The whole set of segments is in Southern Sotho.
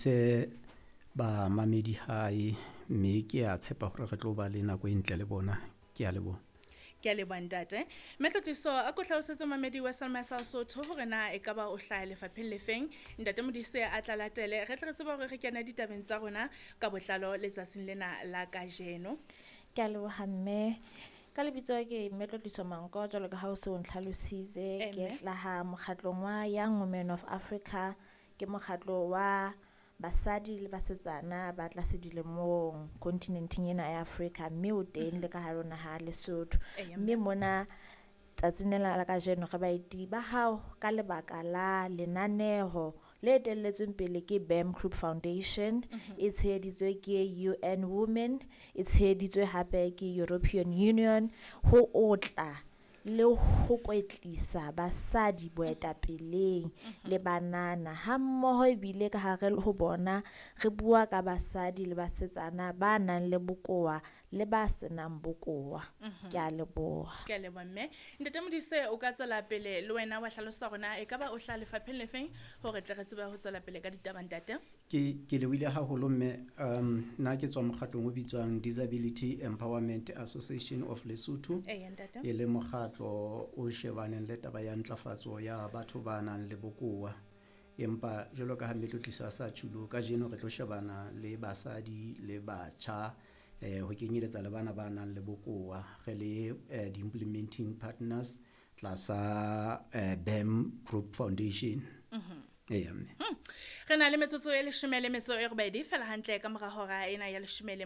Se bamamedi hae, mme ke a tshepa hore re tlo ba le nako e ntle le bona. Ke a leboha. Ke a leboha ntate. Mme Tlotliso, a ko hlalosetse mamedi wa Salma sa Sotho hore na ekaba o hlaha lefapheng lefeng. Ntate Modise a tla latele, re tle re tsebe hore re kene ditabeng tsa rona ka botlalo letsatsing lena la kajeno. Ke a leboha mme. Ka lebitso ke Mme Tlotliso Manko, jwalo ka ha o se o ntlhalositse. Ke hlaha mokgatlong wa Young Women of Africa, ke mokgatlo wa basadi le basetsana ba tlase dilemong kontinenteng ena ya Afrika, mme o teng le ka hare ho naha ya Lesotho. Mme mona tsatsing lena la kajeno re baeti ba hao ka lebaka la lenaneho le etelletsweng pele ke BAM Group Foundation, e tsheheditswe ke UN Women, e tsheheditswe hape ke European Union, ho otla le ho kwetlisa basadi boetapeleng le banana, ha mmoho ebile ka hare ho bona re bua ka basadi le basetsana ba nang le bokowa le ba senang bokowa. Ke a leboha. Ke a leboha mme. Ntate Modise, o ka tswela pele le wena wa hlalosa hore na ekaba o hlaha lefapheng lefeng hore tle re tsebe ho tswela pele ka ditaba ntate. Ke lebohile haholo mme. Nna ke tswa mokgatlong o bitswang Disability Empowerment Association of Lesotho. Eya ntate. E le mokgatlo o shebaneng le taba ya ntlafatso ya batho ba nang le bokowa. Empa jwalo ka ha Mme Tlotliso a sa tjhulo, kajeno re tlo shebana le basadi le batjha, ho kenyeletsa le bana ba nang le bokowa. Re le di-implementing partners tlasa BAM Group Foundation. Eya mme. Re na le metsotso e 18 fela hantle ka mora hora ena ya 11.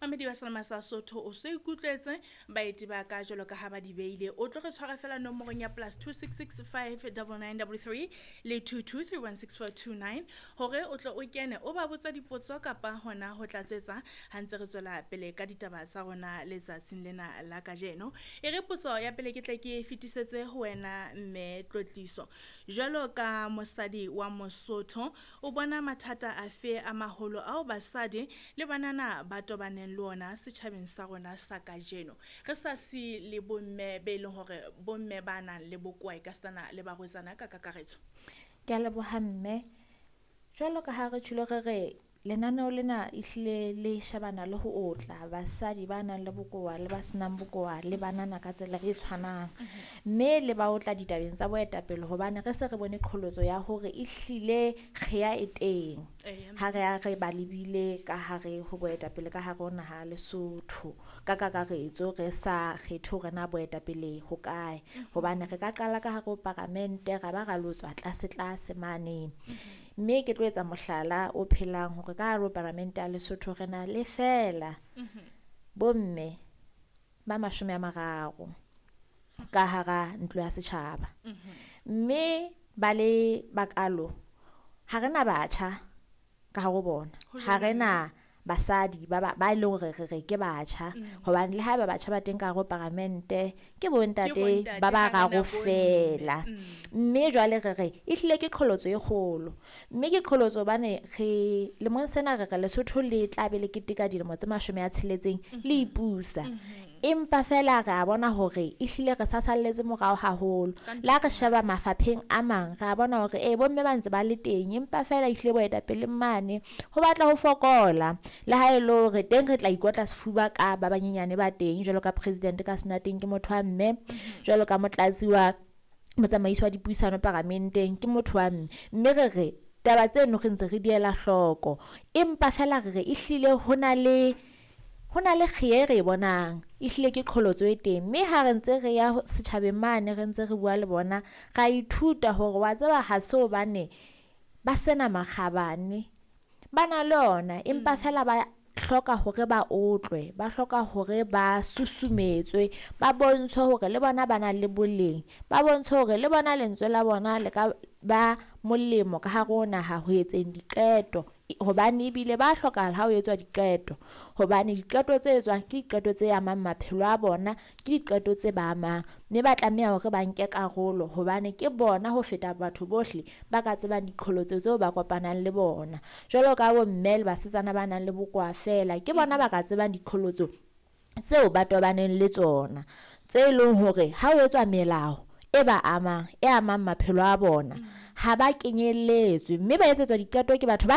Mamedi wa Salma sa Sotho o so ikutlwetse baeti ba ka jwalo ka ha ba di beile. O tlo re tshwara fela nomorong ya +266 5 99 33 le 22 316429 hore o tlo o kene o ba botsa dipotso kapa hona ho tlatsetsa ha ntse re tswela pele ka ditaba tsa rona letsatsing lena la kajeno. E re potso ya pele ke tle ke fetisetse ho wena Mme Tlotliso. Jwalo ka mosadi wa Mosotho, o bona mathata afe a maholo ao basadi le banana ba tobaneng le ona setjhabeng sa rona sa kajeno? Re sa si le bomme be leng hore bomme ba nang le bokowa e ka sitana le barwetsana ka kakaretso. Ke a leboha mme. Jwalo ka ha re tjholo re re lenaneo lena ehlile le shebana le ho otla basadi ba nang le bokowa le ba senang bokowa le banana ka tsela e tshwanang. Mme le ba otla ditabeng tsa boetapele hobane re se re bone qholotso ya hore ehlile kgeya e teng. Ha re a re ba lebile ka hare ho boetapele ka hare ho naha Lesotho ka kakaretso, re sa kgethe hore na boetapele ho kae. Hobane re ka qala ka hare ho paramente ra ba ra lo tswa tlase tlase mane. Mme ke tlo etsa mohlala o phelang hore ka hare ho paramente ya Lesotho re na le feela bomme ba 30 ka hara ntlo ya setjhaba. Mme ba le bakalo ha rena batjha ka hare ho bona, ha rena basadi ba ba leng hore re re ke batjha, hobane le haeba batjha ba teng ka hare ho paramente ke bontate ba bararo feela. Mme jwale re re ehlile ke qholotso e kgolo, mme ke qholotso hobane re lemong sena re re Lesotho le tla be le keteka dilemo tse 60 le ipusa. Empa fela re a bona hore ehlile re sa salletse morao haholo. Le ha re sheba mafapheng a mang, re a bona hore bomme ba ntse ba le teng, empa fela ehlile boetapele mane ho batla ho fokola. Le ha e le hore teng re tla ikotla sefuba ka ba banyenyane ba teng, jwalo ka president ka sena teng ke motho wa mme, jwalo ka motlatsi wa motsamaisi wa dipuisano paramenteng ke motho wa mme. Mme re re taba tseno re ntse re di ela hloko, empa fela re re ehlile ho na le kgeya e re e bonang, ehlile ke qholotso e teng. Mme ha re ntse re ya setjhabeng mane, re ntse re bua le bona, ra ithuta hore wa tseba ha se hobane ba sena makgabane, ba na le ona, empa fela ba hloka hore ba otlwe, ba hloka hore ba susumetswe, ba bontshwe hore le bona ba na le boleng, ba bontshwe hore le bona lentswe la bona le ka ba molemo ka hare ho naha ho etseng diqeto. Hobane ebile ba hlokahala ha ho etswa diqeto, hobane diqeto tse etswang ke diqeto tse amang maphelo a bona, ke diqeto tse ba amang, mme ba tlameha hore ba nke karolo hobane ke bona ho feta batho bohle ba ka tsebang diqholotso tseo ba kopanang le bona. Jwalo ka bomme le basetsana ba nang le bokowa feela, ke bona ba ka tsebang diqholotso tseo ba tobaneng le tsona, tse leng hore ha ho etswa melao e ba amang, e amang maphelo a bona, ha ba kenyelletswe mme ba etsetswa diqeto ke batho ba